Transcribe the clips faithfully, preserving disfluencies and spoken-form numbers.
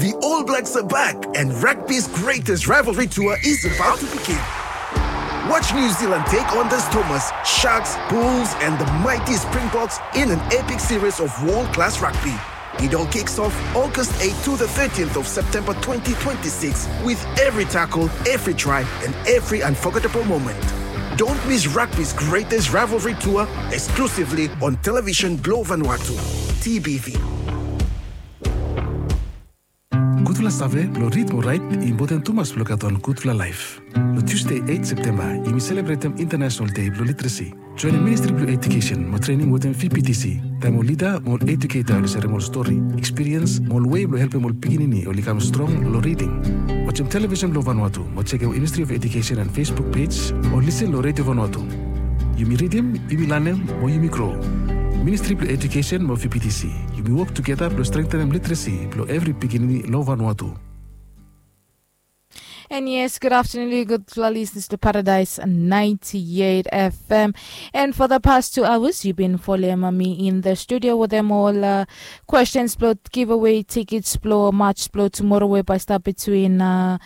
The All Blacks are back, and rugby's greatest rivalry tour is about to begin. Watch New Zealand take on the Stormers, Sharks, Bulls, and the mighty Springboks in an epic series of world class rugby. It all kicks off August eighth to the thirteenth of September twenty twenty-six, with every tackle, every try, and every unforgettable moment. Don't miss rugby's greatest rivalry tour, exclusively on Television Globe Vanuatu, T B V. Gudfala save blong rid mo rait i impoten tumas blong gat wan gudfala laef. Long Tuesday eight September yumi selebretem International Day blong Literacy. Joinim Ministri blong Education mo trening wetem V P T C, taem ol lida mo ol eduketa oli serem ol stori, ekspiriens mo ol wei blong helpem ol pikinini oli kam strong long riding. Wajem Television blong Vanuatu mo jekem Ministry of Education and Facebook page o lisen long Radio Vanuatu. Yumi ridim, yumi lanem, mo yumi gro. Ministri blong Education mo V P T C, yumi wok tugeta blong strengtenem literacy blong evri pikinini long Vanuatu. And yes, good afternoon, good listeners to Paradise ninety-eight F M. And for the past two hours, you've been following me in the studio with them all uh, questions, blow giveaway tickets, blow match, blow tomorrow, where by start between uh,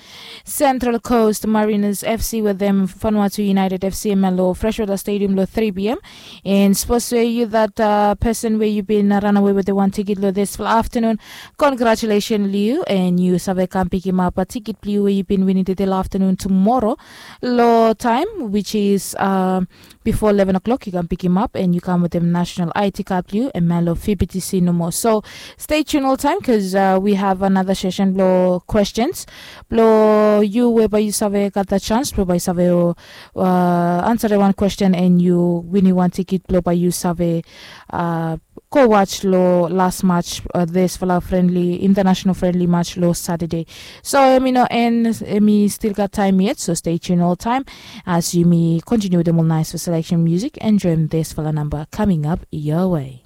Central Coast Mariners F C with them Vanuatu United F C M L O Freshwater Stadium lo three p.m. And supposed to you that uh, person where you've been uh, run away with the one ticket lo this afternoon. Congratulations, Liu, and you save come pick him up a ticket blue where you've been winning the afternoon tomorrow. Lo time, which is um, before eleven o'clock, you can pick him up and you come with them national I T card blue and Melo F B T C no more. So stay tuned all time because uh, we have another session lo questions. Lo you whereby you save got the chance, whereby you save uh, answer one question and you win one ticket lo by you save uh, go watch lo last match uh, this fala friendly international friendly match lo Saturday. So emi no en emi still got time yet, so stay tuned all time as you me continue with them all nice for selection music and join this fala number coming up your way.